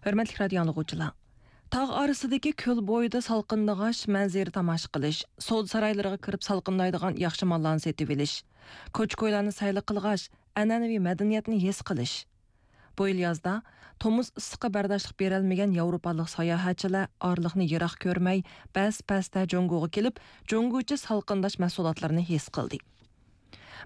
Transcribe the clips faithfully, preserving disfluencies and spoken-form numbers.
ھۆرمەتلىك رادىيو ئاڭلىغۇچىلار! تاغ ئارىسىدىكى كۆل بويىدا سالقىندىغاچ مەنزىرە تاماشا قىلىش، سودا سارايلىرىغا كىرىپ سالقىندايدىغان ياخشى ماللارنى سېتىۋېلىش، كوچا-كويلارنى سەيلە قىلغاچ ئەنئەنىۋى مەدەنىيەتنى ھېس قىلىش. بۇ يىل يازدا تومۇز ئىسسىققا بەرداشلىق بېرەلمىگەن ياۋروپالىق ساياھەتچىلەر ئارىلىقنى يىراق كۆرمەي، بەس-بەستە جۇڭگوغا كېلىپ، جۇڭگوچە سالقىنداش مەھسۇلاتلىرىنى ھېس قىلدى.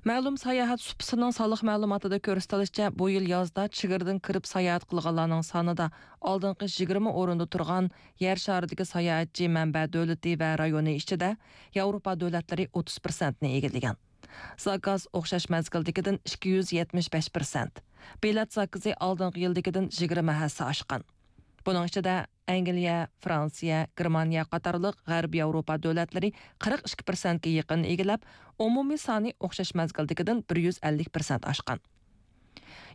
مەلۇم ساياھەت سۇپىسىنىڭ سانلىق مەلۇماتىدا كۆرسىتىلىشىچە، بۇ يىل يازدا چېگرىدىن كىرىپ ساياھەت قىلغانلارنىڭ سانىدا ئالدىنقى يىگىرمە ئورۇندا تۇرغان يەر شارىدىكى ساياھەتچى مەنبە دۆلىتى ۋە رايونى ئىچىدە ياۋروپا دۆلەتلىرى ئوتتۇز پىرسەنتنى ئىگىلىگەن. زاكاز ئوخشاش مەزگىلدىكىدىن ئىككى يۈز يەتمىش بەش پىرسەنت، بېلەت زاكىزى ئالدىنقى يىلدىكىدىن يىگىرمە ھەسسە ئاشقان. بۇنىڭ ئىچىدە ئەنگلىيە، فرانسىيە، گېرمانىيە قاتارلىق غەربىي ياۋروپا دۆلەتلىرى قىرىق ئىككى پىرسەنتكە يېقىن ئىگىلەپ، ئومۇمىي سانى ئوخشاش مەزگىلدىكىدىن بىر يۈز ئەللىك پىرسەنت ئاشقان.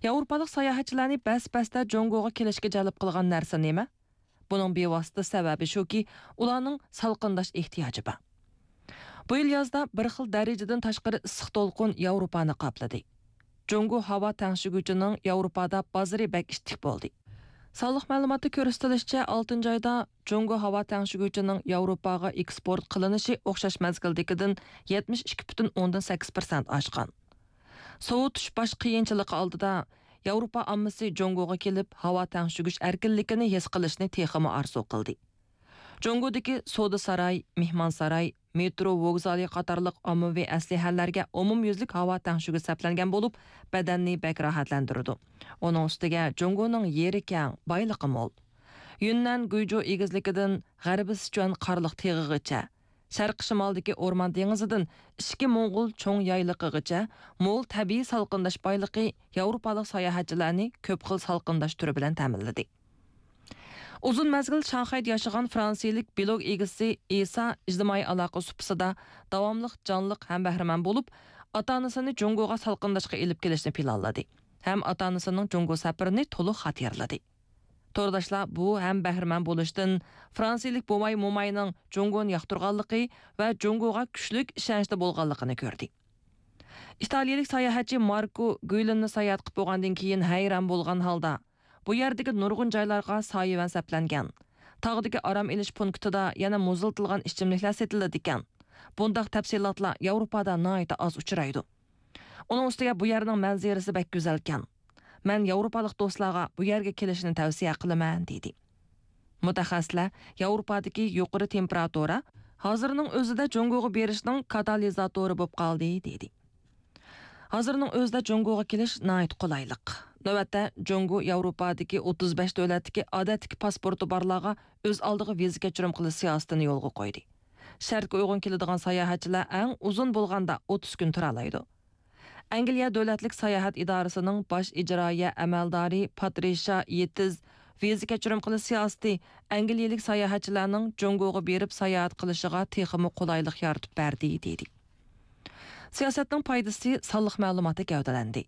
ياۋروپالىق ساياھەتچىلەرنى بەس-بەستە جۇڭگوغا كېلىشكە جەلپ قىلغان نەرسە نېمە؟ بۇنىڭ بىۋاسىتە سەۋەبى شۇكى، ئۇلارنىڭ سالقىنداش ئېھتىياجى بار. بۇ يىل يازدا بىر خىل دەرىجىدىن تاشقىرى ئىسسىق دولقۇن ياۋروپانى قاپلىدى. جۇڭگو ھاۋا تەڭشىگۈچىنىڭ ياۋروپادا بازىرى بەك ئىتتىك بولدى. سانلىق مەلۇماتتا كۆرسىتىلىشىچە، ئالتىنچى ئايدا جۇڭگو ھاۋا تەڭشىگۈچىنىڭ ياۋروپاغا ئېكسپورت قىلىنىشى ئوخشاش مەزگىلدىكىدىن يەتمىش ئىككى پۈتۈن ئوندىن سەككىز پىرسەنت ئاشقان. سوۋۇتۇش باش قىيىنچىلىقى ئالدىدا ياۋروپا ئاممىسى جۇڭگوغا كېلىپ، ھاۋا تەڭشىگۈچ ئەركىنلىكىنى ھېس قىلىشنى تېخىمۇ ئارزۇ قىلدى. جۇڭگودىكى سودا ساراي، مېھمانساراي، مېترو ۋوگزالى قاتارلىق ئاممىۋى ئەسلىھەلەرگە ئومۇميۈزلۈك ھاۋا تەڭشىگۈچ سەپلەنگەن بولۇپ، بەدەننى بەك راھەتلەندۈرىدۇ. ئۇنىڭ ئۈستىگە جۇڭگونىڭ يېرى كەڭ، بايلىقى مول. يۈننەن گۇيجۇ ئېگىزلىكىدىن غەربىي سىچۈەن قارلىق تېغىغىچە، شەرقىي شىمالدىكى ئورمان دېڭىزىدىن ئىچكى موڭغۇل چوڭ يايلىقىغىچە مول تەبىئىي سالقىنداش بايلىقى ياۋروپالىق ساياھەتچىلەرنى كۆپ خىل سالقىنداش تۈرى بىلەن تەمىنلىدى. ئۇزۇن مەزگىل شاڭخەيدە ياشىغان فرانسىيىلىك بىلوگ ئىگىسى ئىسا ئىجتىمائىي ئالاقە سۇپىسىدا داۋاملىق جانلىق ھەم بەھرىمەن بولۇپ، ئاتا-ئانىسىنى جۇڭگوغا سالقىنداشقا ئېلىپ كېلىشنى پىلانلىدى ھەم ئاتا-ئانىسىنىڭ جۇڭگو سەپىرىنى تولۇق خاتىرىلىدى. تورداشلار بۇ ھەم بەھرىمەن بولۇشتىن، فرانسىيىلىك بوۋاي-موماينىڭ جۇڭگونى ياقتۇرغانلىقى ۋە جۇڭگوغا كۈچلۈك ئىشەنچتە بولغانلىقىنى كۆردى. ئىتالىيىلىك ساياھەتچى ماركو گۈيلىننى ساياھەت قىلىپ بولغاندىن كېيىن ھەيران بولغان ھالدا، بۇ يەردىكى نۇرغۇن جايلارغا سايىۋەن سەپلەنگەن. تاغدىكى ئارام ئېلىش پونكىتىدا يەنە مۇزلىتىلغان ئىچىملىكلەر سېتىلىدىكەن. بۇنداق تەپسىلاتلار ياۋروپادا ناھايىتى ئاز ئۇچرايدۇ. ئۇنىڭ ئۈستىگە بۇ يەرنىڭ مەنزىرىسى بەك گۈزەلكەن. مەن ياۋروپالىق دوستلارغا بۇ يەرگە كېلىشنى تەۋسىيە قىلىمەن، دېدى. مۇتەخەسسىسلەر ياۋروپادىكى يۇقىرى تېمپېراتۇرا ھازىرنىڭ ئۆزىدە جۇڭگوغا بېرىشنىڭ كاتالىزاتورى بولۇپ قالدى، دېدى. ھازىرنىڭ ئۆزىدە جۇڭگوغا كېلىش ناھايىتى قولايلىق. نۆۋەتتە، جۇڭگو ياۋروپادىكى ئوتتۇز بەش دۆلەتتىكى ئادەتتىكى پاسپورتى بارلارغا ئۆز ئالدىغا ۋىزا كەچۈرۈم قىلىش سىياسىتىنى يولغا قويدى. شەرتكە ئۇيغۇن كېلىدىغان ساياھەتچىلەر ئەڭ ئۇزۇن بولغاندا ئوتتۇز كۈن تۇرالايدۇ. ئەنگلىيە دۆلەتلىك ساياھەت ئىدارىسىنىڭ باش ئىجرائىيە ئەمەلدارى پاترىشا يېتىز ۋىزا كەچۈرۈم قىلىش سىياسىتى ئەنگلىيەلىك ساياھەتچىلەرنىڭ جۇڭگوغا بېرىپ ساياھەت قىلىشىغا تېخىمۇ قولايلىق يارىتىپ بەردى، دېدى. سىياسەتنىڭ پايدىسى سانلىق مەلۇماتتا گەۋدىلەندى.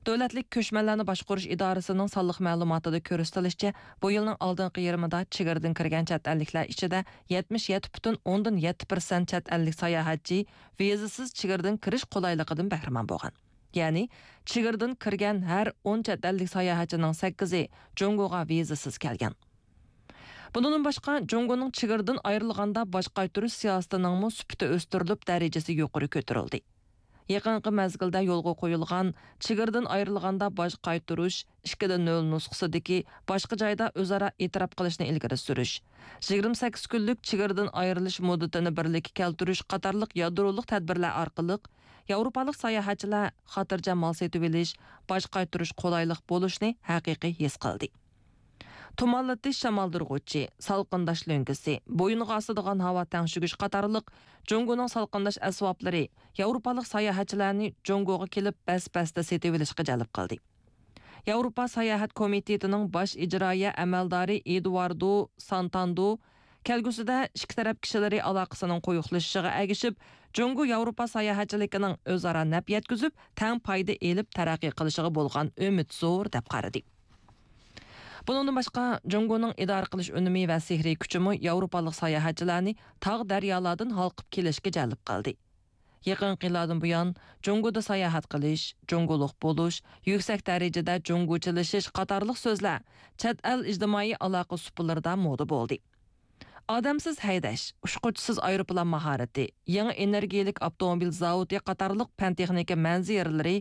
دۆلەتلىك كۆچمەنلەرنى باشقۇرۇش ئىدارىسىنىڭ سانلىق مەلۇماتىدا كۆرسىتىلىشىچە، بۇ يىلنىڭ ئالدىنقى يېرىمىدا چېگرىدىن كىرگەن چەت ئەللىكلەر ئىچىدە يەتمىش يەتتە پۈتۈن ئوندىن يەتتە پىرسەنت چەت ئەللىك ساياھەتچى ۋىزىسىز چېگرىدىن كىرىش قولايلىقىدىن بەھرىمەن بولغان. يەنى، چېگرىدىن كىرگەن ھەر ئون چەت ئەللىك ساياھەتچىنىڭ سەككىزى جۇڭگوغا ۋىزىسىز كەلگەن. بۇنىڭدىن باشقا، جۇڭگونىڭ چېگرىدىن ئايرىلغاندا باج قايتۇرۇش سىياسىتىنىڭمۇ سۈپىتى ئۆستۈرۈلۈپ، دەرىجىسى يۇقىرى كۆتۈرۈلدى. يېقىنقى مەزگىلدە يولغا قويۇلغان چېگرىدىن ئايرىلغاندا باج قايتۇرۇش ئىككى دە نۆل نۇسخىسىدىكى باشقا جايدا ئۆزئارا ئېتىراپ قىلىشنى ئىلگىرى سۈرۈش، يىگىرمە سەككىز كۈنلۈك چېگرىدىن ئايرىلىش مۇددىتىنى بىرلىككە كەلتۈرۈش قاتارلىق يادرولۇق تەدبىرلەر ئارقىلىق ياۋروپالىق ساياھەتچىلەر خاتىرجەم مال سېتىۋېلىش، باج قايتۇرۇش قولايلىق بولۇشنى ھەقىقىي ھېس قىلدى. تۇمانلىتىش شامالدۇرغۇچى، سالقىنداش لۆڭگىسى، بويۇنغا ئاسىدىغان ھاۋا تەڭشىگۈچ قاتارلىق جۇڭگونىڭ سالقىنداش ئەسۋابلىرى ياۋروپالىق ساياھەتچىلەرنى جۇڭگوغا كېلىپ بەس-بەستە سېتىۋېلىشقا جەلپ قىلدى. ياۋروپا ساياھەت كومىتېتىنىڭ باش ئىجرائىيە ئەمەلدارى ئېدۇاردو سانتاندو كەلگۈسىدە ئىككى تەرەپ كىشىلىرى ئالاقىسىنىڭ قويۇقلىشىشىغا ئەگىشىپ، جۇڭگو ياۋروپا ساياھەتچىلىكىنىڭ ئۆزئارا نەپ يەتكۈزۈپ، تەڭ پايدا ئېلىپ تەرەققىي قىلىشىغا بولغان ئۈمىد زور، دەپ قارىدى. بۇنىڭدىن باشقا، جۇڭگونىڭ ئىدارە قىلىش ئۈنۈمى ۋە سېھرىي كۈچىمۇ ياۋروپالىق ساياھەتچىلەرنى تاغ دەريالاردىن ھالقىپ كېلىشكە جەلپ قىلدى. يېقىنقى يىللاردىن بۇيان، جۇڭگودا ساياھەت قىلىش، جۇڭگولۇق بولۇش، يۈكسەك دەرىجىدە جۇڭگوچىلىشىش قاتارلىق سۆزلەر چەت ئەل ئىجتىمائىي ئالاقە سۇپىلىرىدا مودا بولدى. ئادەمسىز ھەيدەش، ئۇچقۇچىسىز ئايروپىلان ماھارىتى، يېڭى ئېنېرگىيەلىك ئاپتوموبىل زاۋۇتى قاتارلىق پەن-تېخنىكا مەنزىرىلىرى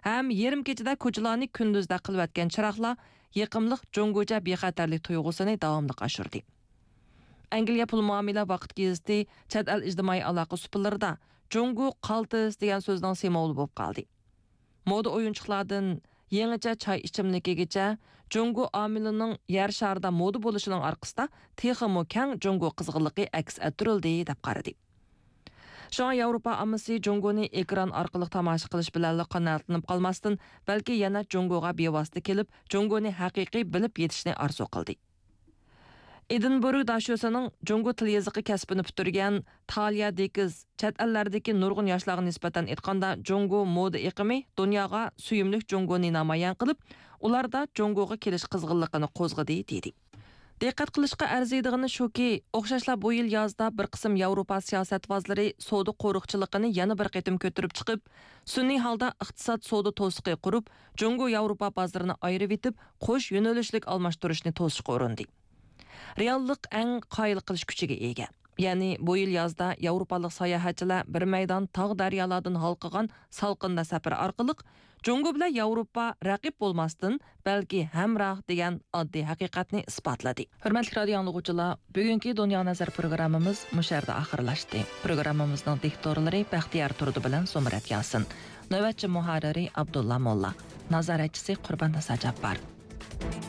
ھەم يېرىم كېچىدە كوچىلارنى كۈندۈزدەك قىلىۋەتكەن چىراغلار يېقىملىق جۇڭگوچە بىخەتەرلىك تۇيغۇسىنى داۋاملىق ئاشۇردى. ئەنگلىيە پۇل مۇئامىلە ۋاقىت گېزىتى چەت ئەل ئىجتىمائىي ئالاقە سۇپىلىرىدا جۇڭگو قالتىس دېگەن سۆزنىڭ سىمۋولى بولۇپ قالدى. مودا ئويۇنچۇقلاردىن يېڭىچە چاي ئىچىملىكىگىچە جۇڭگو ئامىلىنىڭ يەر شارىدا مودا بولۇشىنىڭ ئارقىسىدا تېخىمۇ كەڭ جۇڭگو قىزغىنلىقى ئەكس ئەتتۈرۈلدى، دەپ قارىدى. شۇڭا ياۋروپا ئاممىسى جۇڭگونى ئېكران ئارقىلىق تاماشا قىلىش بىلەنلا قانائەتلىنىپ قالماستىن، بەلكى يەنە جۇڭگوغا بىۋاسىتە كېلىپ، جۇڭگونى ھەقىقىي بىلىپ يېتىشنى ئارزۇ قىلدى. ئېدىنبۇرگ داشۆسىنىڭ جۇڭگو تىل يېزىقى كەسپىنى پۈتتۈرگەن تالىيا دېكىز چەت ئەللەردىكى نۇرغۇن ياشلارغا نىسبەتەن ئېيتقاندا، جۇڭگو مودا ئېقىمى دۇنياغا سۆيۈملۈك جۇڭگونى نامايان قىلىپ، ئۇلاردا جۇڭگوغا كېلىش قىزغىنلىقىنى قوزغىدى، دېدى. دىققەت قىلىشقا ئەرزىيدىغىنى شۇكى، ئوخشاشلا بۇ يىل يازدا بىر قىسىم ياۋروپا سىياسەتۋازلىرى سودا قورۇقچىلىقىنى يەنە بىر قېتىم كۆتۈرۈپ چىقىپ، سۈنئىي ھالدا ئىقتىساد سودا توسۇقى قۇرۇپ، جۇڭگو ياۋروپا بازىرىنى ئايرىۋېتىپ، قوش يۆنىلىشلىك ئالماشتۇرۇشنى توسۇشقا ئۇرۇندى. رېئاللىق ئەڭ قايىل قىلىش كۈچىگە ئىگە. يەنى بۇ يىل يازدا ياۋروپالىق ساياھەتچىلەر بىر مەيدان تاغ-دەريالاردىن ھالقىغان سالقىندا سەپىرى ئارقىلىق جۇڭگو بىلەن ياۋروپا رەقىب بولماستىن، بەلكى ھەمراھ دېگەن ئاددىي ھەقىقەتنى ئىسپاتلىدى. ھۆرمەتلىك رادىيو ئاڭلىغۇچىلار، بۈگۈنكى دۇنيا نەزەر پروگراممىمىز مۇشۇ يەردە ئاخىرلاشتى. پروگراممىمىزنىڭ دىكتورلىرى بەختىيار تۇردى بىلەن زۇمرەت ياسىن. نۆۋەتچى مۇھەررىرى ئابدۇللا موللا. نازارەتچىسى قۇرباننىسا جاپپار.